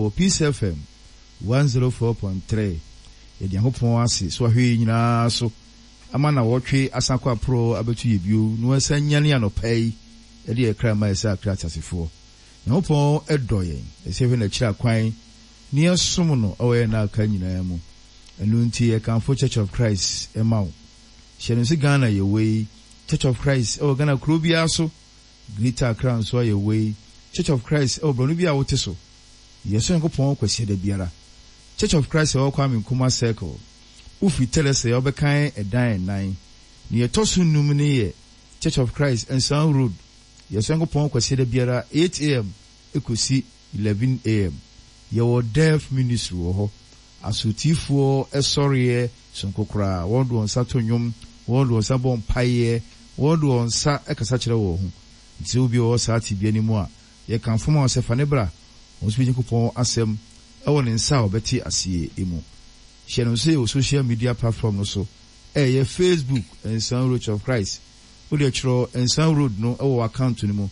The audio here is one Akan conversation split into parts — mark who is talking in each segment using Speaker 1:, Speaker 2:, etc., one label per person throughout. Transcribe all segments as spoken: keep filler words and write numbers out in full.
Speaker 1: Ɛwɔ Peace F M one zero four point three. Yɛde Nyankopɔn ase so ahwɛ yi nyinaa so ama na wɔtwe asan kɔ aporɔ abɛto yɛ bio na wɔasan nyane anɔpa yi ɛde yɛ kra ma yɛ sɛ akra ateasefoɔ. Nyankopɔn ɛdɔ yɛn, ɛsɛ hwɛ n'akyiri akwan ne yɛsom no ɛwɔ yɛn aka nyinaa mu. Ɛno nti yɛkamfo Church of Christ ɛma wo. Hyɛ no sɛ Ghana yɛwɔ yi, Church of Christ ɛwɔ Ghana kuro biara so, Greater Accra nso a yɛwɔ yi, Church of Christ ɛwɔ borɔno bi a wote so. Yɛsɔ Nyankopɔn Kwasiada biara. Church of Christ ɛwɔ Kwame Nkrumah Circle, wofiri Tɛlɛsɛ wobɛkan ɛdan ɛnan ne yɛtɔ so num ne yɛ Church of Christ, Nsan Road. Yɛsɔ Nyankopɔn Kwasiada biara eight a m ɛkɔsi eleven a m. Yɛwɔ Deaf Ministry wɔ hɔ, asotifoɔ ɛsɔreɛ sonko koraa. Wɔn de wɔn nsa to nnwom, wɔn de wɔn nsa bɔ mpaeɛ, wɔn de wɔn nsa ɛkasa kyerɛ wɔn ho. Nti sɛ obi a ɔwɔ saa tebea no mu a, yɛkamfo ma wo sɛ fa ne bra, wɔn nso bɛgye Nyankopɔn asɛm ɛwɔ ne nsa a wɔbɛte aseɛ mu. Hyɛ no nso yɛ wɔ social media platform no so, ɛyɛ Facebook, Nsan Road Church of Christ. Wode kyerɛ Nsan Road no ɛwɔ account no mu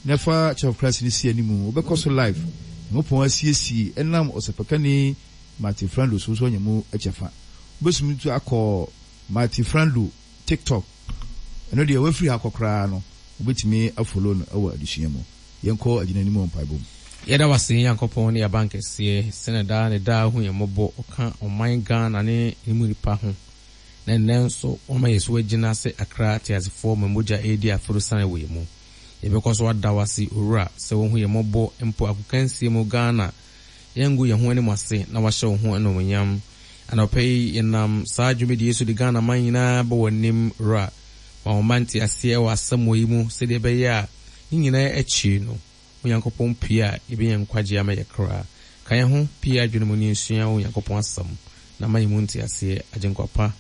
Speaker 1: na fa Church of Christ no si animu, wobɛkɔ so live. Nyankopɔn asiesie ɛnam ɔsɛpɛkani Martin Frando so nso anya mu kyɛfa. Wobɛsumi nso akɔ Martin Frando TikTok. Ɛno deɛ wafiri ha kɔ koraa no, wobɛtumi afollow no ɛwɔ adesua mu. Yɛnkɔ agyina anim wɔ mpaebɔ mu.
Speaker 2: Yɛda wase, Nyankopɔn ne yɛaba nkɛseɛ sɛne daa ne daa hu yɛn mmɔbɔ, ɔka ɔman Ghana ne ne mu nipa ho, na nnɛ nso wɔma yɛ so agyina sɛ akra teasefoɔ ma mogya ɛredi aforo sane wɔ yɛn mu. Yɛbɛkɔ so ada wase, Owura, sɛ wohu yɛn mmɔbɔ mpo akokansie mu. Ghana, yɛngu yɛn ho anim ase na wahyɛ wo ho animuonyam. Anɔpɛ yi yɛnam saa dwumadie so de Ghana man nyinaa bɔ w'anim. Wura, ma wɔn mma nte aseɛ wɔ asɛm wɔ yi mu, sɛdeɛ ɛbɛyɛ a ne nyinaa akyi no Onyankopɔn pie a yɛbɛnya nkwagye ama yɛ kra. Ka yɛn ho pie adwene mu ne nsua Onyankopɔn asɛm na ma yɛn mu nte aseɛ. Agyenkwa pa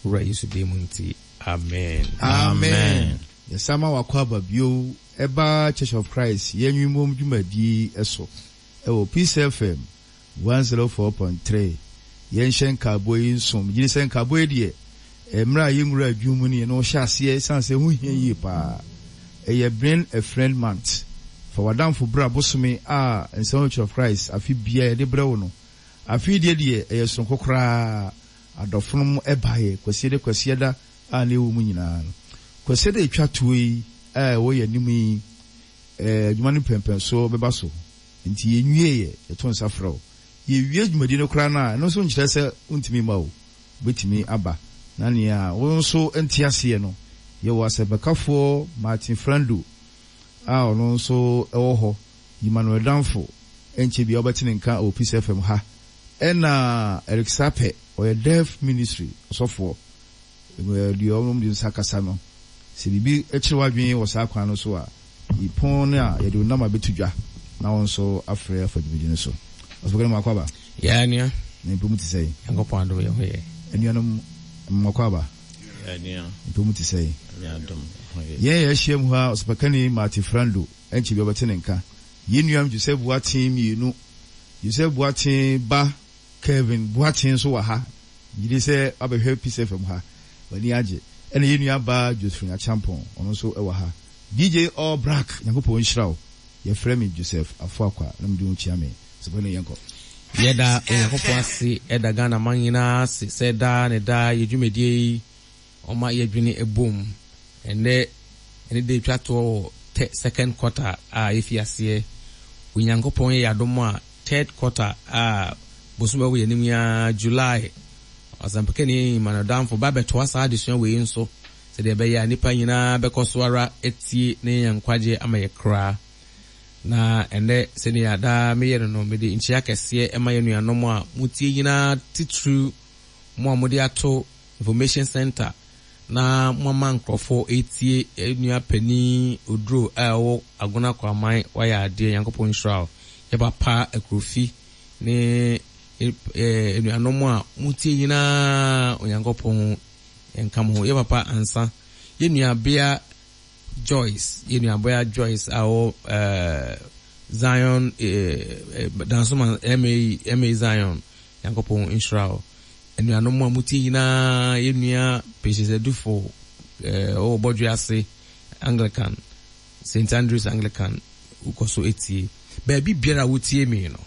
Speaker 2: Wura Yesu din mu nti, amen.
Speaker 1: Amen. Yɛsan wakɔ aba bio ɛba Church of Christ yɛnwimom dwumadie ɛso ɛwɔ Peace F M one zero four point three. Yɛnhyɛ nkaabɔ yi nsom gyini sɛ nkaabɔ yi deɛ, mmerɛ a yɛnwura adwuma mu no, yɛne wɔhyɛ aseɛ ɛsiane sɛ ɛho hia yie paa. Ɛyɛ Bring a Friend Month, fa w'adamfo bra bosome a Nsɛm Church of Christ afe bia yɛde brɛ wo no. Afe deɛ deɛ ɛyɛ soronko koraa. Adɔfonom ɛbaeɛ Kwasiada, Kwasiada a na ɛwɔ mu nyinaa no, Kwasiada ɛtwa toɔ yi a ɛwɔ yɛn anim yi, adwuma no mpɛmpɛnsoɔ bɛba so. Nti yɛnwie yɛ yɛto nsa frɛ wo. Yɛwie dwumadi no koraa no a, ɛno nso nkyerɛ sɛ wontumi ma o, wobɛtumi aba na nea wo nso nte aseɛ no, yɛwɔ asɛmpɛkafoɔ Martin Frando a ɔno nso ɛwɔ hɔ, Emmanuel Danfo ɛnkyɛ bia wobɛte ne nka wɔ Peace F M ha, ɛna Eric Sapɛ, ɔyɛ Deaf Ministry ɔsɔfoɔ. Deɛ ɔnom de nsa kasa no, sɛ biribi kyerɛ w'adwene wɔ saa kwan no so a, pɔn no a yɛde wo nam abɛto dwa na wɔn nso afrɛ afa dwumadi no so. Ɔsɔfo no, makɔ aba.
Speaker 2: Yɛ nua.
Speaker 1: Na mpɛ te sɛ?
Speaker 2: Nyankopɔn adom, yɛ ho yɛ.
Speaker 1: Anuanom, makɔ aba. Mpɛ mu te sɛ? Yɛn yɛ ahyia mu ha, ɔsɔpɛkani Martin Frando, ɛnkyɛ bi ɔbɛte ne nka. Yɛn nuam Joseph Boateng mmienu, Joseph Boateng ba Kevin Boateng nso wɔ ha. Gyidi sɛ wabɛhwɛ Peace F M ha, w'ani agye. Ɛna yɛn nua ba Josephine Achampɔn, ɔno nso wɔ ha. D J All Black, Nyankopɔn nhyira wo. Yɛfrɛ me Joseph Afoakwa na mede wo kyia me sɔpɛ no. Yɛnkɔ.
Speaker 2: Yɛda Onyankopɔn ase, ɛda Ghana man nyinaa ase sɛ daa ne daa yɛ dwumadie yi ɔma yɛdwene ɛbom. Ɛnɛ ɛne de twa toɔ wɔ te second quarter a yɛfi aseɛ. Onyankopɔn yɛ yɛadom a, third quarter a bosom ɛwɔ yɛn anim ya, July, ɔsɛmpakani Emmanuel Danfo ba bɛtoa saa adesua wei nso, sɛdeɛ ɛbɛyɛ a nnipa nyinaa bɛkɔ so ara atie ne yɛn nkwagye ama yɛ koraa. Na ɛnɛ, sɛnea daa meyɛ no no mede nkyia kɛseɛ ɛma yɛn nuanom a motie nyinaa, titiriw mo a mode ato information center na moama nkurɔfoɔ ɛtie. Nua panin Oduro a ɛwɔ Agona Kwaman, wayɛ adeɛ, Nyankopɔn nhyira wo. Yɛ papa Akurofi ne anuanom a motie nyinaa, Onyankopɔn nka mo ho. Yɛ papa Ansa, yɛ nuabea Joyce, yɛ nuabea Joyce a ɔwɔ ɛɛ Zion, ɛɛ Dansoma ma ma Zion, Nyankopɔn nhyira wo. Anuanom a motie nyinaa, yɛ nua Patience Adufo, ɛɛ ɔwɔ Bɔdwe ase Anglican, Saint Andrews Anglican, wokɔ so etie. Baabi biara a wotie mi no.